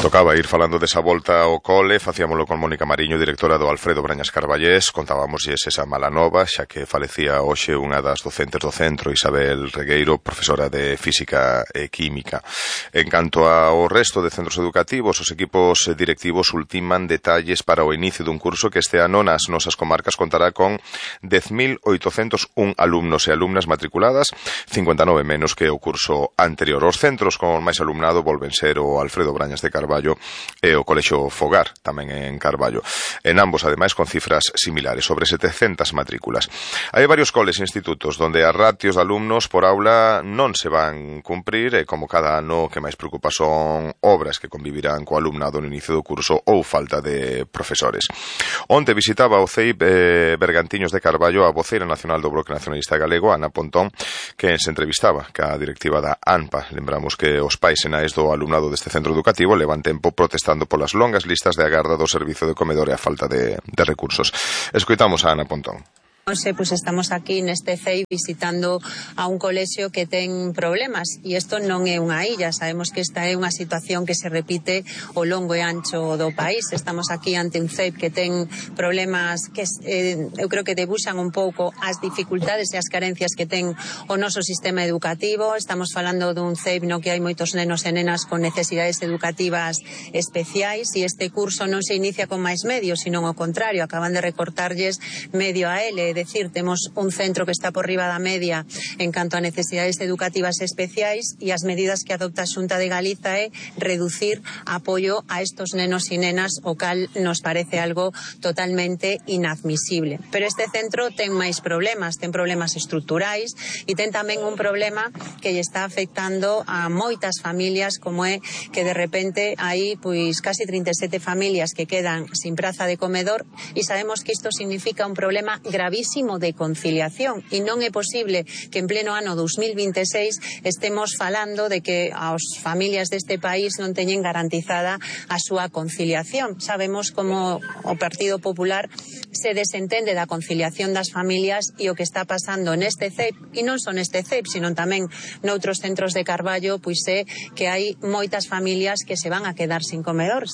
Tocaba ir falando desa volta ao cole, facíamolo con Mónica Mariño, directora do Alfredo Brañas Carballés. Contábamosles esa mala nova, xa que falecía hoxe unha das docentes do centro, Isabel Regueiro, profesora de Física e Química. En canto ao resto de centros educativos, os equipos directivos ultiman detalles para o inicio dun curso que este ano nas nosas comarcas contará con 10.801 alumnos e alumnas matriculadas, 59 menos que o curso anterior. Os centros con máis alumnado volven ser o Alfredo Brañas de Carballo e o Colexio Fogar, tamén en Carballo. En ambos, ademais, con cifras similares, sobre 700 matrículas. Hai varios coles e institutos onde as ratios de alumnos por aula non se van cumprir e, como cada ano, que máis preocupa son obras que convivirán co alumnado no inicio do curso ou falta de profesores. Onte visitaba o CEIP Bergantiños de Carballo a voceira nacional do Bloque Nacionalista Galego, Ana Pontón, que se entrevistaba ca directiva da ANPA. Lembramos que os pais e nais do alumnado deste centro educativo levan tempo protestando polas longas listas de agarda do servizo de comedor e a falta de recursos. Escoitamos a Ana Pontón. Pues estamos aquí neste CEI visitando a un colexio que ten problemas e isto non é unha illa, sabemos que esta é unha situación que se repite ao longo e ancho do país. Estamos aquí ante un CEI que ten problemas que eu creo que debuxan un pouco as dificultades e as carencias que ten o noso sistema educativo. Estamos falando dun CEI no que hai moitos nenos e nenas con necesidades educativas especiais e este curso non se inicia con máis medios, sino ao contrario, acaban de recortarlles medio a ele. É dicir, temos un centro que está por riba da media en canto a necesidades educativas especiais e as medidas que adopta a Xunta de Galiza é reducir apoio a estos nenos e nenas, o cal nos parece algo totalmente inadmisible. Pero este centro ten máis problemas, ten problemas estruturais e ten tamén un problema que lle está afectando a moitas familias, como é que de repente hai pois casi 37 familias que quedan sin praza de comedor e sabemos que isto significa un problema gravísimo de conciliación e non é posible que en pleno ano 2026 estemos falando de que as familias deste país non teñen garantizada a súa conciliación. Sabemos como o Partido Popular se desentende da conciliación das familias e o que está pasando neste CEIP, e non só neste CEIP, sino tamén noutros centros de Carballo, pois é que hai moitas familias que se van a quedar sin comedor.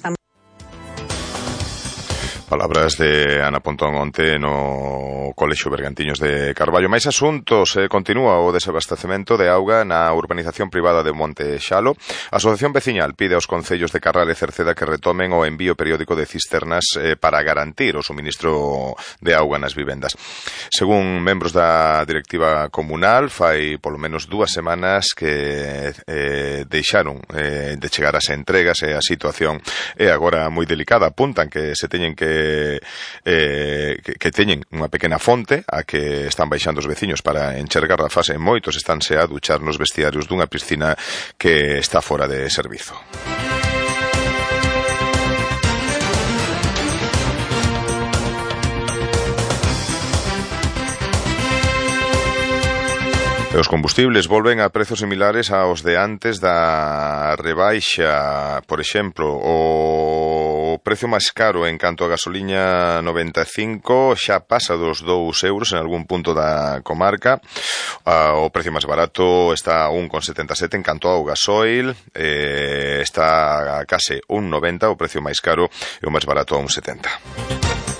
Palabras de Ana Pontón onte no Colexio Bergantiños de Carballo. Máis asuntos. Continúa o desabastecemento de auga na urbanización privada de Monte Xalo. A Asociación Veciñal pide aos concellos de Carral e Cerceda que retomen o envío periódico de cisternas para garantir o suministro de auga nas vivendas. Según membros da directiva comunal, fai polo menos 2 semanas que deixaron de chegar as entregas e a situación é agora moi delicada. Apuntan que se teñen que teñen unha pequena fonte a que están baixando os veciños para encher garrafas e moitos estánse a duchar nos vestiarios dunha piscina que está fora de servizo. E os combustibles volven a prezos similares aos de antes da rebaixa. Por exemplo, o precio máis caro en canto a gasoliña 95 xa pasa dos 2 euros en algún punto da comarca. O precio máis barato está a 1,77 en canto ao gasoil, está a case 1,90, o precio máis caro e o máis barato a 1,70.